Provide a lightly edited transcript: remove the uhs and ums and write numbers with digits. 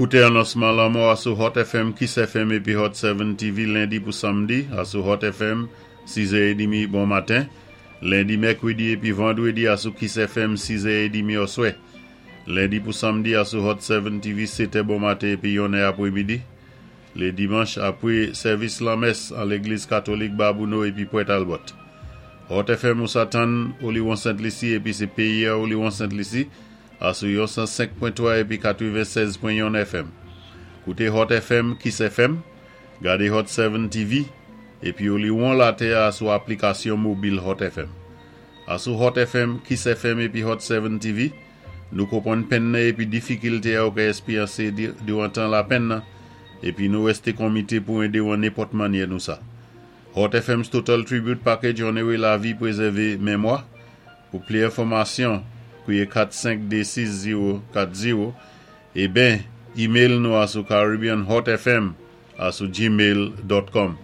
Kouté anonsman lanmò a sou Hot FM, Kiss FM épi Hot 7 TV lendi pou samdi, a sou Hot FM 6h30 bon maten, lendi, mèkwédi épi vandwédi a sou Kiss FM 6h30 oswè. Lendi pou samdi a sou Hot 7 TV 7è bon maten épi 1è apwémidi. Lé dimanch apwé sèvis lanmès an légliz katolik Babouno épi Pwèt Albòt. Hot FM ou sa tann Oliwon Sent Lisi épi sé péyi a Oliwon Sent Lisi a sou yon 105.3 épi 96.1 FM. Kouté Hot FM, Kiss FM, gadé Hot 7 TV, épi Oliwon latè a sou aplikasyon mobil Hot FM. A sou Hot FM, Kiss FM épi Hot 7 TV, nou konpwann penn nan épi difikilté a ou ka èspéryansé diwan tan lapenn nan, épi nou rèsté konmité pou édé ou an nenpòt mannyè nou sa. Hot FM's Total Tribute Package Onoré Lavi, Pwézèvé Mémwa. Pou pli enfòmasyon, kwié 4526040 é ben email nou a sou caribbeanhotfm a sou gmail.com.